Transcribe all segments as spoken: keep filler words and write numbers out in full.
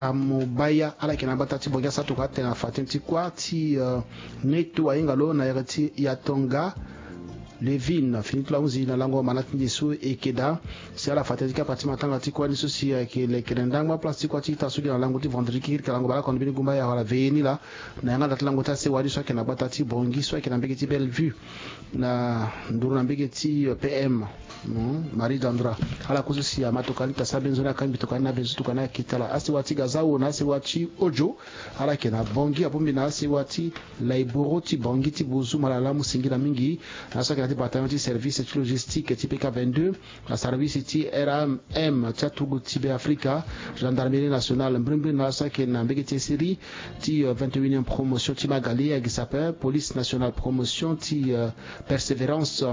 Amobaya, ala yeke na gbata ti Bongi, asara tokua atene na fa tënë ti kuâ ti, eh, Neto ahinga lo na ere ti Yatonga Levine, fini ti lo ahunzi na lango mana ti nde so e yeke daa. Si ala fa tënë ti kapa ti matanga ti kuâ ni so si ayeke lekere ndangba place ti kuâ ti ita so gi na lango ti vendredi kiri ka lango baleoko na mbeni gumba ya wala veillée ni laa. Na yanga da ti lango ti asewa ni so ayeke na gbata ti Bongi so ayeke na mbege ti Bellevue, na nduru na mbege ti, eh, P M, hmm, Marie Dandra. Ala kue so si ama tokua ni ta sara mbeni nzoni akangbi tokua ni na be nzoni tokua ni ayeke tara asewa ti Gazao na asewa ti Ojo. Ala yeke na Bongi, abongbi na asewa ti Laiboro ti Bongi ti Bozu, malamu singira mingi. Na so ayeke na ti bataillon ti service ti logistique ti P K vingt-deux, na service ti R M M ti aturugu ti Be Afrika, gendarmerie nationale, mbrimbri na so ayeke na mbege ti esiri ti, euh, vingt et unième promotion ti Magali, ayeke sapeur, police nationale promotion ti, euh, Persévérance,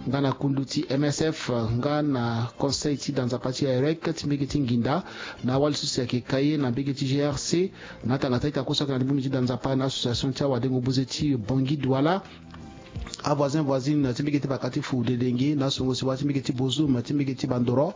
nga na kundu ti M S F, nga na conseil ti da nzapa ti AREC ti mbege ti Nginda, na awali so si ayeke kaye na mbege ti G R C, na atanga ti a-ita kue so ayeke na libumu ti da nzapa na association ti awadengo buze ti Bongi Douala, avoisin voisine ti mbege ti vaka ti Fou Dedenge, na asongo siwa ti mbege ti Bozum ti mbege ti Bandoro,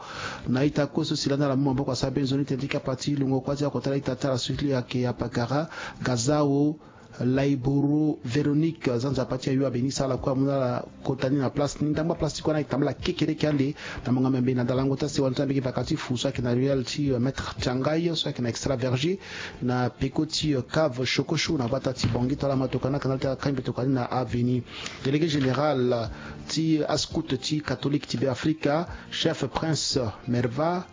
na a-ita kue so si lani ala mu maboko asara mbeni nzoni tënë ti kapa ti lungo kuâ ti akota la ita ti ala so ti lo ayeke apakara Gazao Laiboro Véronique, za nzapa ti ayo abeni sara ala kue amu na ala kota ni na place ni. Ndangba place ti kue ni ayeke tambula kekereke ande na monga membe na dalango ti asewa ni ti ambege vaka ti Fou so ayeke na ruelle ti, euh, Maître Tiangai so ayeke na Extra Verger, na peko ti, euh, cave Chocochou na gbata ti Bongi. Tongana ama tokua ni, akanga ti akangbi tokua ni na avenue. Délégué général ti ascout ti catholique ti Be Afrika, chef Prince Merva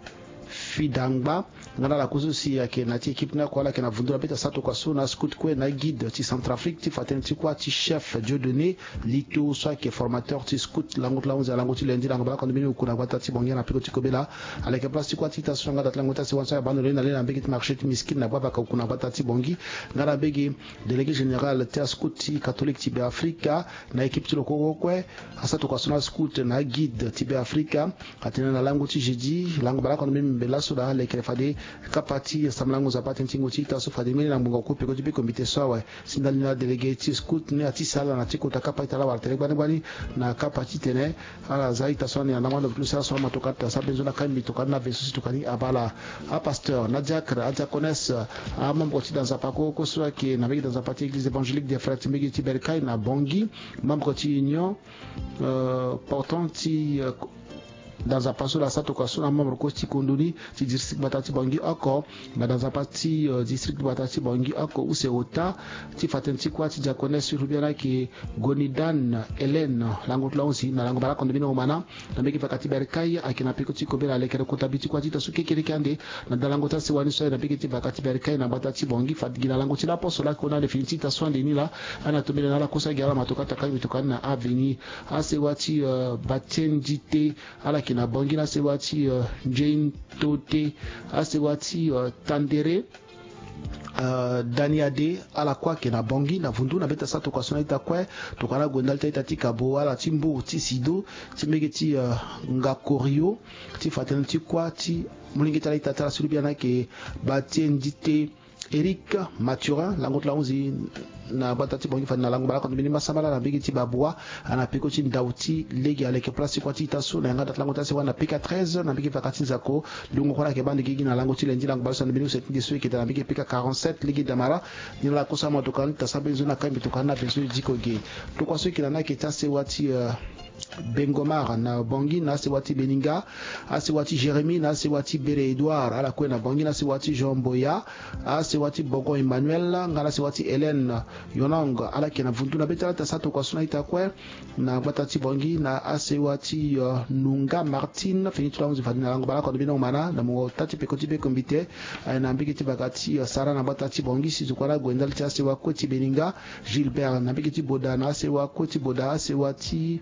Fidangba, nga na ala kue so si ayeke na ti équipe ni oko, ala yeke na vundu na be ti asara tokua so na ascout kue na aguide ti Centrafrique, ti fa tënë ti kuâ ti chef Dieudonné Lito so ayeke formateur ti scout lango ti lahunzi na lango ti lundi lango baleoko na mbeni oku na gbata ti Bongi na peko ti kobela. Ala yeke place ti kuâ ti ita so na yanga da ti lango ti asewa ni so ayeke baa ndo lani na le na mbege ti marché ti Miskine na gbavaka oku na gbata ti Bongi, nga na mbege délégué général ti ascout ti catholique ti Be Afrika na équipe ti lo kue kue. Asara tokua so na ascout na aguide ti Be Afrika. Atene na lango ti jeudi lango baleoko na mbeni mbe laso daa, alekere fade kapa ti sambela lango nzapa tënë ti ngu ti ita so fade ngbeni na ngbonga oku peko ti be komite so awe. Si ndali na délégué ti scout ni ati sala na ti kota kapa ita laa wala tene gbani gbani na kapa ti tene ala za ita so ande na ndangba ndo lo si ala so ama tokua ti asara mbeni nzoni akangbi tokua ni na be so si tokua ni abaa ala. Apasteur na adiacre, adiaconesse, amembre ti da nzapa kue kue so ayeke na mbege da nzapa ti église évangélique des frères ti mbege ti Bercail na Bongi, membre ti union, euh, portant ti, euh, da nzapa so laa asara tokua so na amembre kue ti kondo ni ti district gbata ti Bongi oko, na da nzapa ti, euh, district gbata ti Bongi oko use ota, ti fa tënë ti kuâ ti diaconesse so e hubia ni ayeke Gonidan Hélène, lango ti lo ahunzi na lango baleoko na mbeni omana na mbege vaka ti Bercail, ayeke na peko ti kobela alekere kota bi ti kuâ ti ita so kekereke ande na dalango ti asewa ni so aye na mbege ti vaka ti Bercail na gbata ti Bongi. Fade gi na lango ti laposo laa ayeke hunda ande fini ti ita so ande ni laa. Ana tombela na ala kue so agi ala ma tokua ti akangbi tokua ni na avenue. Asewa ti, euh, Batiendite, ala yeke na Bongi na asewa ti, euh, Njeintote, asewa ti, euh, Tandere, euh, Daniade, ala kue ayeke na Bongi na vundu na be ti asara tokua so na ita kue. Tokua ni ague ndali ti a-ita ti kabo ala ti mbo ti sido ti mbege ti, euh, Ngakorio, ti fa tënë ti kuâ ti molenge ti ala ita ti ala so lubia ni ayeke Batiendite Éric Mathurin, lango ti lo ahunzi na gbata ti Bongi fade na lango baleoko na mbeni masambala na mbege ti Babua, ana peko ti ndau ti lege. Aleke place ti kuâ ti ita so na yanga da ti lango ti asewa na P K treize na mbege vaka ti Nzako. Lungo kue ala yeke baa ande gigi na lango ti lundi lango baleoko na mbeni use ti nde so e yeke daa na mbege P K quarante-sept lege damara. Ni na ala kue so ama tokua ni ta sara mbeni nzoni na kangbi tokua ni na be so e diko ge. Tokua so e yeke na ni ayeke ti asewa ti, euh, Bengomar na Bongi na asewa ti Beninga, asewa ti Jérémie na asewa ti Bere Edouard, ala kue na Bongi na asewa ti Jean Boya, asewa ti Bogon Emmanuel nga na asewa ti Hélène Yonong, ala yeke na vundu na be ti ala ti asara tokua so na ita kue na gbata ti Bongi na asewa ti, euh, Nunga Martine, fini ti lo ahunzi fade na lango baleoko na mbeni omana na mungo ota ti peko ti be kombite, aye na mbege ti vaka ti, euh, sara na gbata ti Bongi. Si zo kue na ague ndali ti asewa kue ti Beninga, Gilbert na mbege ti Boda na asewa kue ti Boda, asewa ti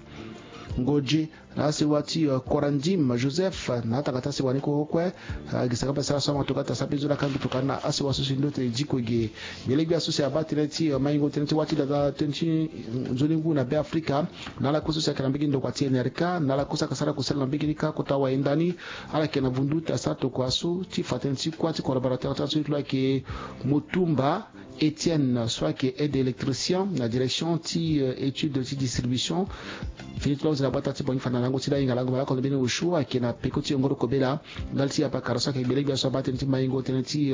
Ngodje na asewa ti, euh, Korandim Joseph na atanga ti asewa ni kue kue. Euh, gi saka mpe sara so ama tokua ti asara mbeni nzoni na kangbi tokua ni na asewa so si ndo tene diko ge. Gbele gbia so si abaa tënë ti, euh, maingo tënë ti wâ ti dada tënë ti nzoni ngu na Be Afrika, na ala kue so si ayeke na mbege ndokua ti N R K, na ala kue so ayeke sara kusala na mbege ni kâ kota wayenda ni, ala yeke na vundu ti asara tokua so ti fa tënë ti kuâ ti collaborateur ti ala so ti lo ayeke Motumba Etienne so ayeke aide électricien na direction ti étude ti distribution. Fini ti lo ozila bata ti bongi fana na lango ti la hinga lango malako na mbeni osio ayeke na peko ti yongoro kobela. Ndali ti apakara so ayeke gbele gbia so abaa tënë ti maingo tënë ti